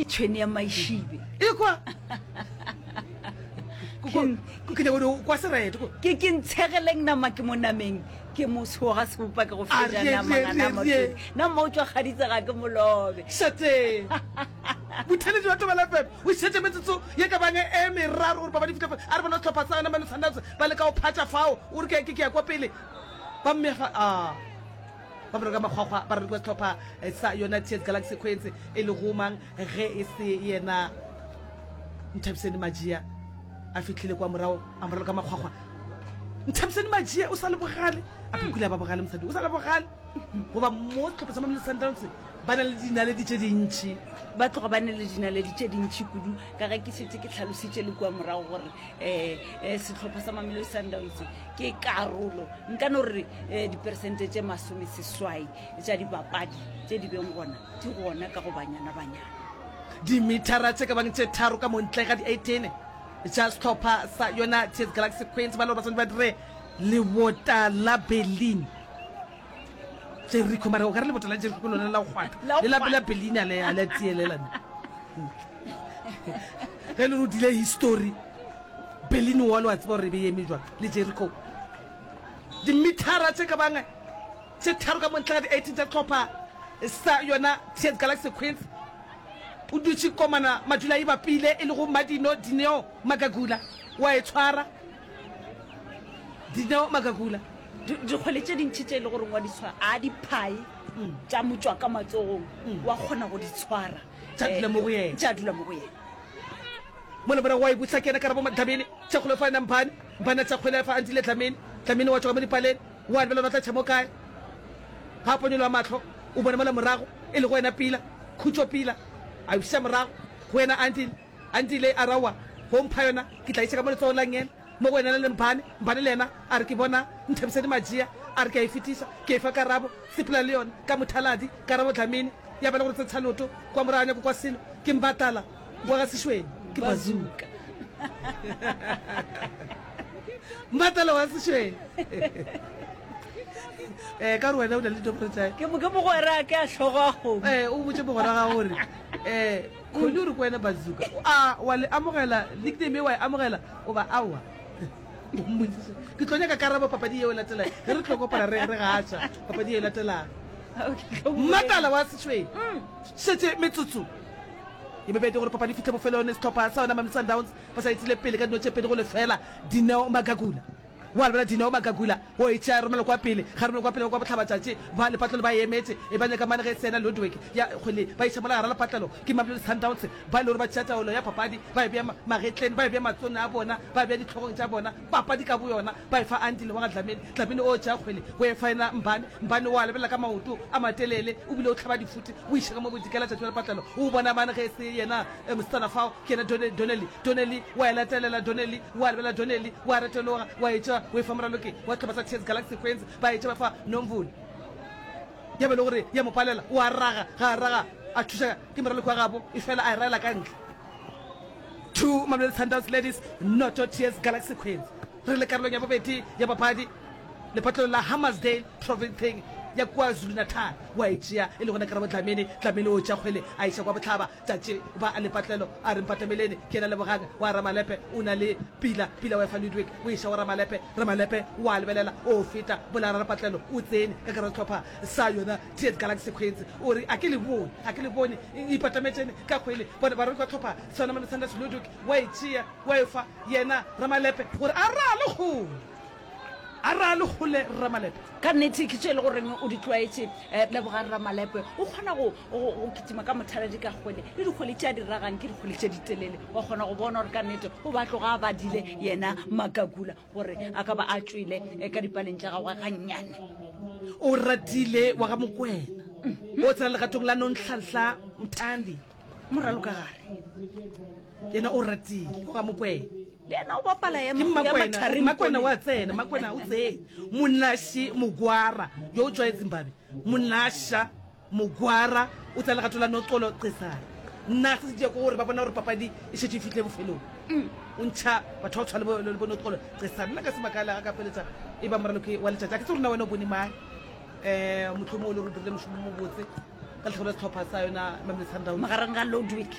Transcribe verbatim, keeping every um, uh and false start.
Ke tšhwene ya maišibe. Ekwa. Ke nyaka gore kwa sereto. Ke ke ntshegeleng nama ke mo nameng ke mo tshoga sebopa ke go A feja re, nama re, ngana re, re. motho. Nama o tšwa kgaditse ga ke molobe. Šate. Botheletši wa Thobela F M o šetše metsotso ye ka bang e meraro gore papadi e fihle fa. A re bona sehlopha sa yona Mamelodi Sundowns ba leka go phatša fao. O re ke ke ya kwa pele. Ba mmea fa a. Ba mo reka makgwakgwa ba raloki ba sehlopha sa yona T S Galaxy Queens e lego mang ge e se yena Nthabiseni Majia a fihlile kwa morago a mo raloka makgwakgwa. Nthabiseni Majia o sa le bogale a phukule a ba bogale mosadi o sa le bogale goba mo sehlopha sa Mamelodi Sundowns ba na le dinaledi tše dintši. Ba tloga ba na le dinaledi tše dintši kudu ka ge ke šetše ke hlalositše le kua morago gore um um sehlopha sa Mamelodi Sundowns ke karolo nka no re um diperesente tše masomeseswai tša dibapadi tše di beng gona di gona ka go Banyana Banyana. Dimithara tše ka bang tše tharo ka montle ga di eighteen tša sehlopha sa yona T S Galaxy Queens ba le gore ba swanetše ba dire lebota la Berlin. Jericho mara o ka re lebota la Jericho ke lona la go kgwatha La go le la kgwatha. la Berlin a le a le tielela ne. Ge le rutile history Berlin Wall wa tseba gore e be e eme jwang le Jericho. Dimithara tše ka bang tše tharo ka montle ga di eighteen tša sehlopha sa yona T S Galaxy Queens o dutše komana madula e bapile e lego Madino Dineo Magagula wa e tshwara. Dineo Magagula. Dikgwele tše dintši tše e le goreng wa di tshwara, a di phae tša mo tšwa ka matsogong, wa kgona go di tshwara. Tša dula mo go yena. Tša dula mo go yena. Mola morago wa e buša ke yena Karabo Dlamini, tša kgwele fa yena Mphane, Mphane a tša kgwele fa Andile Dlamini, Dlamini wa tšwa ka mo dipaleng, wa lebelela ba tla tšha mo kae. Ga a ponyologa mahlo, o bona mola morago e lego yena Pila, Khutšo Pila, a e buša morago go yena Andile, Andile a re aowa, go mpha yona ke tla iša ka mo letsogong la ngele. Mo go yena le Mphane, Mphane le yena a re, Ke bona Nthabiseni Majia, a re ke a e fetiša, ke e fa Karabo, sepela le yona ka mothaladi, Karabo Dlamini, ya ba le gore tsentsha leoto kwa morago a nyako kwa selo, ke Mbatala wa ga Sešweng, ke Bazooka. Mbatala wa Sešweng. Eh, ka gore wena o na le dinomoro tša Ke ke mogwera ke a hlogo a kgomo. Eh, o botše mogwera ga gore eh Kholi o re ko wena Bazooka. A wa le amogela nickname e wa e amogela goba aowa? O mmotsiše. Ke tlo nyaka karabo papadi yeo e latelang. Ge re tlo kopana re re gaša papadi yeo e latelang. Mmatala wa Sešweng. Šetše metsotso ye mebedi gore papadi e fihle bofelong. Sehlopha sa yona Mamelodi Sundowns ba sa etile pele ka dino tše pedi go lefela. Dineo Magagula. Wa lebala Dineo Magagula o e tšea romela kwa pele, ga romela kwa pele ba kwa bohlabatšatši ba lepatlelo ba e emetše e ba nyaka mane ge e se yena Ludwig ya kgwele ba iša mola gara lepatlelo ke Mamelodi Sundowns ba e le gore ba tšea taolo ya papadi ba e bea magetleng ba e bea matsong a bona ba e bea dihlogong tša bona papadi ka boyona ba e fa Andile wa ga Dlamini Dlamini o tšea kgwele o e fa yena Mbane Mbane o a lebelela ka maoto a matelele o bile o hlaba difuti o iša ka mo bodikela tšatši la lepatlelo o bona mane ge e se yena mosetsana fao ke yena Donnelly Donnelly wa e latelela Donnelly wa lebelela Donnelly wa retologa wa etša o efa moraloki wa sehlopha sa T S Galaxy Queens ba etša ba fa Nomvula ya ba le gore ya mo palela o a raga ga a raga a thuša ke moraloki wa gabo e fela a e raela ka ntle. Two Mamelodi Sundowns Ladies noto T S Galaxy Queens. Re le karolong ya bobedi ya papadi lepatlelong la Hammarsdale provinceng ya KwaZulu-Natal. Wa e tšea e le gona Karabo Dlamini. Dlamini o tšea kgwele a iša kwa bohlaba tšatši ba a lepatlelo a re mpatameleni ke yena Lebogang wa Ramalepe o na le pila pila wa efa Ludwig o iša go Ramalepe Ramalepe wa lebelela o feta bola ralepatlelo o tsene ka gare ga sehlopha sa yona T S Galaxy Queens o re a ke le bone a ke le bone ipatametšene ka kgwele bone ba raloka hlopha sa yona Mamelodi Sundowns Ludwig wa e tšea wa efa yena Ramalepe gore a rale kgole a rale kgole Ramalepe. Ka nnete ke tše e le goreng o di tlwaetše. Lebogang Ramalepe o kgona go, go, go kitima ka mothaladi ka kgwele, le dikgwele tše a di ragang ke dikgwele tše di telele. Wa kgona go bona gore ka nnete o ba tloga a badile yena Makakula gore a ka ba a tšwele ka dipaleng tša gagwe gannyane. O ratile wa ga Mokwena o tsena legatong la Nonhlanhla Mthandi. Moralokagare. Yena o ratile wa ga Mokwena. Le yena o bapala ya Ke ya Mmakwena, mathareng Mmakwena kone. wa tsena, Mmakwena o tsene. Monashi Mogwara yo o tšwae Zimbabwe. Monasha Mogwara o tsena legato la Noxolo Cesare. Na se se tšea ke gore ba bona gore papadi e šetše e fihlile bofelong. O ntšha batho ba go tshwana le bo, le bo Noxolo Cesare. Nna ka se makale ga ka feletša e ba moraloki wa letšatši. A ke tsebe gore na wena o bone mang. Um mohlomongwe o le gore o dirile mošomo o mobotse ka lehlakore la sehlopha sa yona Mamelodi Sundowns. Magareng ga Ludwig